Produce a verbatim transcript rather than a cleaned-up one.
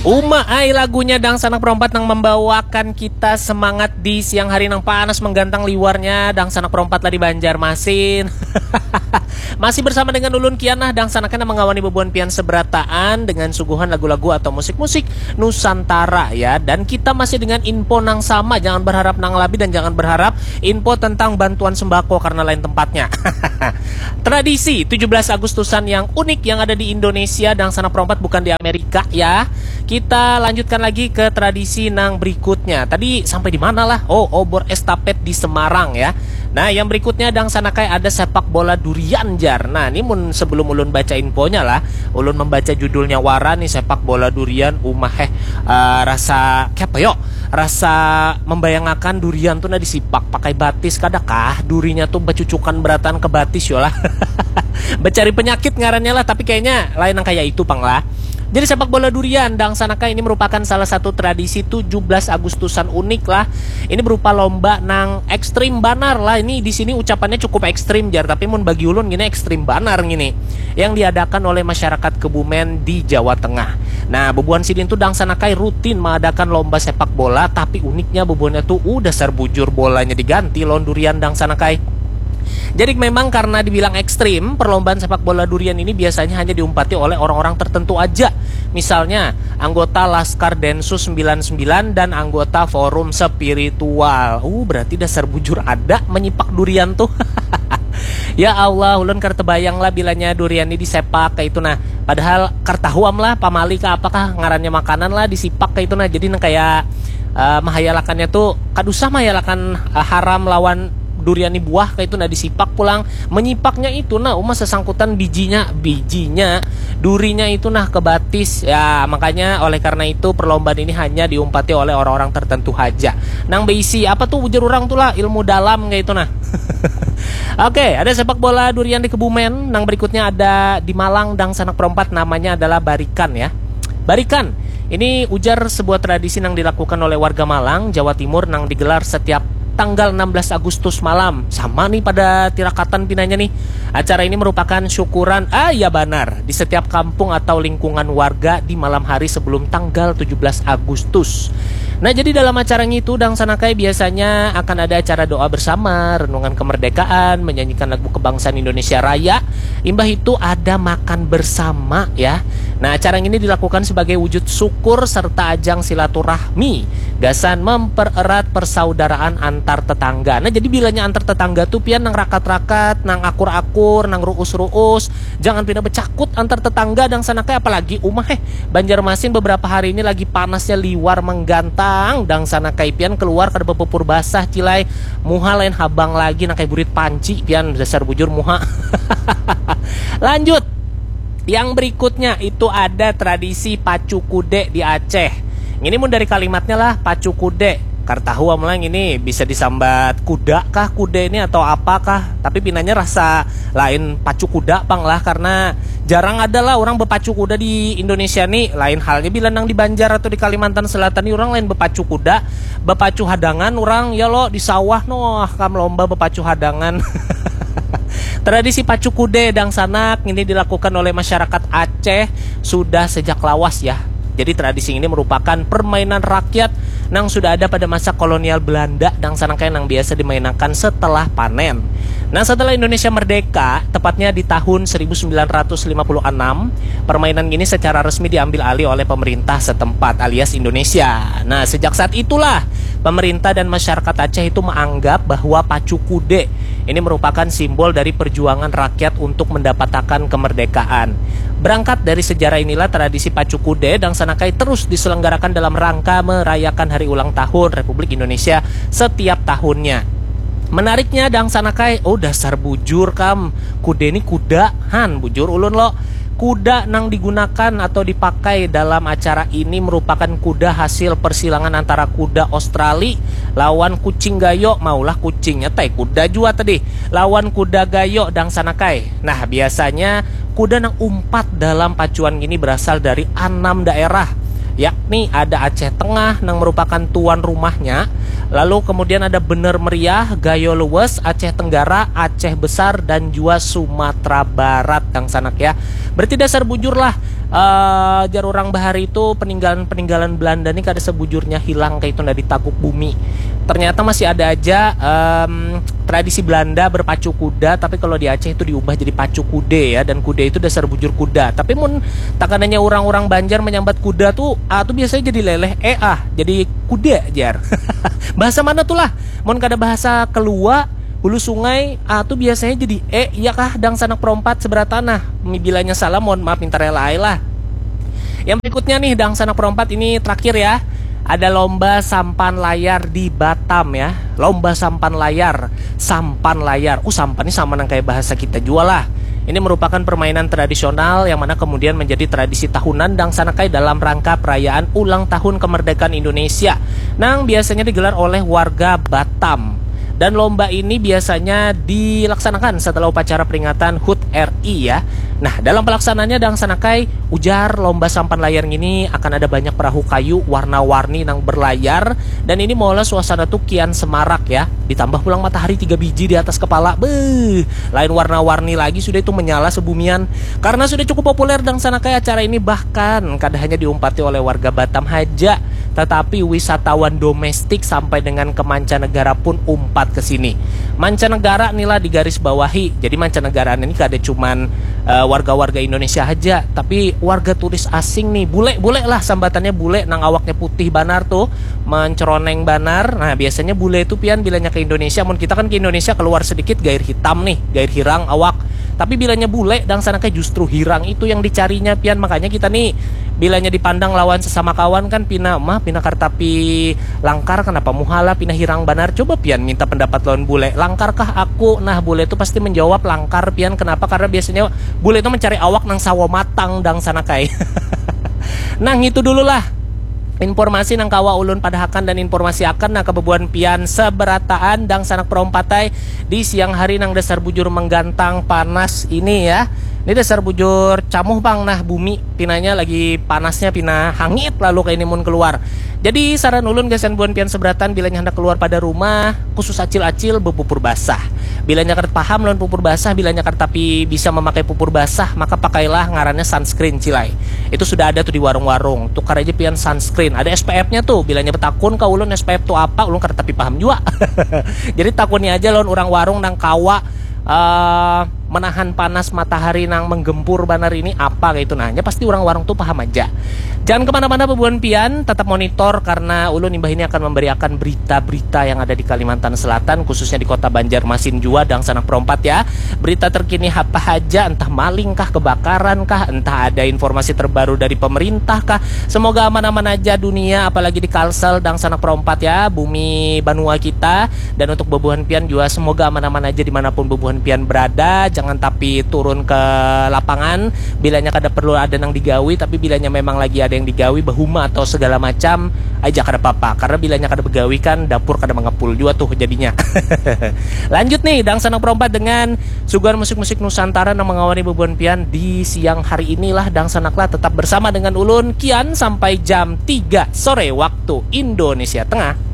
Uma ai lagunya dangsanak perompat nang membawakan kita semangat di siang hari nang panas menggantang liwarnya dangsanak perompat lah di Banjarmasin. Masih bersama dengan ulun Kian nah dangsanaknya mengawani bebuan pian seberataan dengan suguhan lagu-lagu atau musik-musik Nusantara ya. Dan kita masih dengan info nang sama, jangan berharap nang lebih dan jangan berharap info tentang bantuan sembako karena lain tempatnya. Tradisi tujuh belas Agustusan yang unik yang ada di Indonesia dangsanak perompat bukan di Amerika ya. Kita lanjutkan lagi ke tradisi nang berikutnya. Tadi sampai di mana lah? Oh, obor estafet di Semarang ya. Nah, yang berikutnya dangsanakai ada sepak bola durian jar. Nah, ini mun sebelum ulun baca infonya lah, ulun membaca judulnya wara nih sepak bola durian umah eh uh, rasa kayak apa yo? Rasa membayangakan durian tuh nah disipak pakai batis kadakah durinya tuh becucukan beratan ke batis yo lah. Becari penyakit ngarannya lah, tapi kayaknya lain yang kayak itu pang lah. Jadi sepak bola durian dangsanakai ini merupakan salah satu tradisi tujuh belas Agustusan unik lah. Ini berupa lomba nang ekstrim banar lah. Ini di sini ucapannya cukup ekstrim jar, tapi mun bagi ulun gini ekstrim banar gini. Yang diadakan oleh masyarakat Kebumen di Jawa Tengah. Nah, bebuan sidin tuh dangsanakai rutin mengadakan lomba sepak bola, tapi uniknya bebuannya tuh udah sarbujur bolanya diganti lawan durian dangsanakai. Jadi memang karena dibilang ekstrim, perlombaan sepak bola durian ini biasanya hanya diumpati oleh orang-orang tertentu aja. Misalnya, anggota Laskar Densus sembilan sembilan dan anggota Forum Spiritual. Uh, berarti dasar bujur ada menyipak durian tuh. Ya Allah, ulun kar tebayang lah bilanya durian ini disepak kayak itu nah. Padahal kar tahu am lah pamali ke apakah ngarannya makanan lah disipak kayak itu nah. Jadi nang kayak uh, mahayalakannya tuh kada usah mahayalakan uh, haram lawan durian ni buah kayak itu nah disipak pulang menyipaknya itu nah uma sesangkutan bijinya bijinya durinya itu nah ke batis ya makanya oleh karena itu perlombaan ini hanya diumpati oleh orang-orang tertentu haja nang berisi apa tuh ujar orang tuh lah ilmu dalam kayak itu nah. Oke, ada sepak bola durian di Kebumen. Nang berikutnya ada di Malang dangsanak perompat namanya adalah Barikan ya. Barikan, ini ujar sebuah tradisi yang dilakukan oleh warga Malang, Jawa Timur yang digelar setiap tanggal enam belas Agustus malam. Sama nih pada tirakatan pinanya nih. Acara ini merupakan syukuran, ah ya benar, di setiap kampung atau lingkungan warga di malam hari sebelum tanggal tujuh belas Agustus. Nah, jadi dalam acara ngitu dangsanakai biasanya akan ada acara doa bersama, renungan kemerdekaan, menyanyikan lagu kebangsaan Indonesia Raya. Imbah itu ada makan bersama ya. Nah, acara ini dilakukan sebagai wujud syukur serta ajang silaturahmi gasan mempererat persaudaraan antar tetangga. Nah, jadi bilanya antar tetangga tuh pian nang rakat-rakat, nang akur-akur, nang ruus-ruus, jangan pina becakut antar tetangga dangsanakai apalagi umah eh. Banjarmasin beberapa hari ini lagi panasnya liwar menggantang dangsanakai pian keluar kada bepupur basah cilai muha lain habang lagi nang kayak burit panci pian dasar bujur muha. Lanjut. Yang berikutnya itu ada tradisi pacu kude di Aceh. Ini mun dari kalimatnya lah pacu kude. Kartahu amulang ini bisa disambat kuda kah kude ini atau apa kah. Tapi pinanya rasa lain pacu kuda pang lah karena jarang ada lah orang berpacu kuda di Indonesia nih. Lain halnya bila nang di Banjar atau di Kalimantan Selatan nih orang lain berpacu kuda, berpacu hadangan orang ya lo di sawah noh kam lomba berpacu hadangan. Tradisi pacu kude dangsanak ini dilakukan oleh masyarakat Aceh sudah sejak lawas ya. Jadi tradisi ini merupakan permainan rakyat nang sudah ada pada masa kolonial Belanda dangsanangkai nang biasa dimainakan setelah panen. Nah setelah Indonesia merdeka, tepatnya di tahun seribu sembilan ratus lima puluh enam, permainan ini secara resmi diambil alih oleh pemerintah setempat alias Indonesia. Nah sejak saat itulah pemerintah dan masyarakat Aceh itu menganggap bahwa pacu kude ini merupakan simbol dari perjuangan rakyat untuk mendapatkan kemerdekaan. Berangkat dari sejarah inilah tradisi pacu kude dangsanakai terus diselenggarakan dalam rangka merayakan hari ulang tahun Republik Indonesia setiap tahunnya. Menariknya dangsanakai, oh dasar bujur kam, kude ni kuda, han bujur ulun lo. Kuda nang digunakan atau dipakai dalam acara ini merupakan kuda hasil persilangan antara kuda Australia lawan kucing gayo, maulah kucingnya tai kuda jua tadi, lawan kuda gayo dangsanakai. Nah, biasanya kuda nang umpat dalam pacuan ini berasal dari enam daerah, yakni ada Aceh Tengah nang merupakan tuan rumahnya, lalu kemudian ada Bener Meriah, Gayo Luwes, Aceh Tenggara, Aceh Besar, dan jua Sumatera Barat, dangsanak ya. Berarti dasar bujur lah, Uh, jar orang bahari itu peninggalan-peninggalan Belanda nih kada sebujurnya hilang kayak itu ndak ditaguk bumi. Ternyata masih ada aja um, tradisi Belanda berpacu kuda, tapi kalau di Aceh itu diubah jadi pacu kude ya, dan kude itu dasar bujur kuda. Tapi mun takananya orang-orang Banjar menyambat kuda tuh, ah tuh biasanya jadi leleh, eh ah, jadi kuda jar. Bahasa mana tuh lah? Mun kada bahasa kelua, hulu sungai, ah tuh biasanya jadi eh, iya kah dangsanak perompat seberat tanah. Bilanya salah, mohon maaf minta rela lah. Yang berikutnya nih, dangsanak perompat ini terakhir ya. Ada lomba sampan layar di Batam ya. Lomba sampan layar, sampan layar. Uh, sampan ini sama nang kayak bahasa kita jua lah. Ini merupakan permainan tradisional yang mana kemudian menjadi tradisi tahunan dangsanakai dalam rangka perayaan ulang tahun kemerdekaan Indonesia. Nang biasanya digelar oleh warga Batam. Dan lomba ini biasanya dilaksanakan setelah upacara peringatan hud R I ya. Nah, dalam pelaksanaannya dangsanakai ujar lomba sampan layar ini akan ada banyak perahu kayu warna-warni nang berlayar, dan ini malah suasana tuh kian semarak ya. Ditambah pulang matahari tiga biji di atas kepala, beuh, lain warna-warni lagi sudah itu menyala sebumian. Karena sudah cukup populer dangsanakai acara ini, bahkan kada hanya diumpati oleh warga Batam haja, tetapi wisatawan domestik sampai dengan ke mancanegara pun umpat ke sini. Mancanegara inilah digaris bawahi. Jadi mancanegara ini kada cuman uh, warga-warga Indonesia aja, tapi warga turis asing nih. Bule-bule lah sambatannya, bule nang awaknya putih banar tuh, menceroneng banar. Nah, biasanya bule itu pian bilanya ke Indonesia, mun kita kan ke Indonesia keluar sedikit gair hitam nih, gair hirang awak. Tapi bilanya bule dangsanakai justru hirang itu yang dicarinya pian. Makanya kita nih bilanya dipandang lawan sesama kawan kan pina mah pina kartapi langkar, kenapa muhala pina hirang banar. Coba pian minta pendapat lawan bule, langkarkah aku? Nah, bule itu pasti menjawab langkar pian. Kenapa? Karena biasanya bule itu mencari awak nang sawo matang dangsanakai. Nah, itu dulu lah informasi nang kawa ulun padahakan dan informasi akan nah kebebuan pian seberataan dangsanak perompat ai di siang hari nang dasar bujur menggantang panas ini ya. Ini dasar bujur camuh pang nah bumi, pinanya lagi panasnya pina hangit lalu kayak ini mun keluar. Jadi saran ulun gasan buan pian seberatan bilanya hendak keluar pada rumah, khusus acil-acil bepupur basah. Bilanya kada paham lawan pupur basah, bilanya kada tapi bisa memakai pupur basah, maka pakailah ngarannya sunscreen cilai. Itu sudah ada tuh di warung-warung. Tukar aja pian sunscreen. Ada S P F-nya tuh. Bilanya betakun ka ulun S P F tuh apa, ulun kada tapi paham jua. Jadi takuni aja lawan orang warung nang kawa uh, menahan panas matahari nang menggempur banar ini apa kayak itu. Nah, pasti orang warung tuh paham aja. Jangan kemana-mana bebuan pian, tetap monitor karena ulun imbah ini akan memberiakan berita-berita yang ada di Kalimantan Selatan, khususnya di kota Banjarmasin jua dangsanak perompat ya. Berita terkini apa aja, entah maling kah, kebakaran kah, entah ada informasi terbaru dari pemerintah kah. Semoga aman-aman aja dunia, apalagi di Kalsel dangsanak perompat ya, bumi banua kita. Dan untuk bebuhan pian juga semoga aman-aman aja dimanapun bebuhan pian berada. Jangan tapi turun ke lapangan bilanya kada perlu ada nang digawi, tapi bilanya memang lagi ada yang digawi, bahuma atau segala macam aja kada apa-apa. Karena bilanya kada begawi kan dapur kada mengepul juga tuh jadinya. Lanjut nih, dangsanak perompat dengan suguhan musik-musik Nusantara yang mengawali bebuan pian di siang hari inilah. Dangsanaklah tetap bersama dengan ulun Kian sampai jam tiga sore waktu Indonesia Tengah.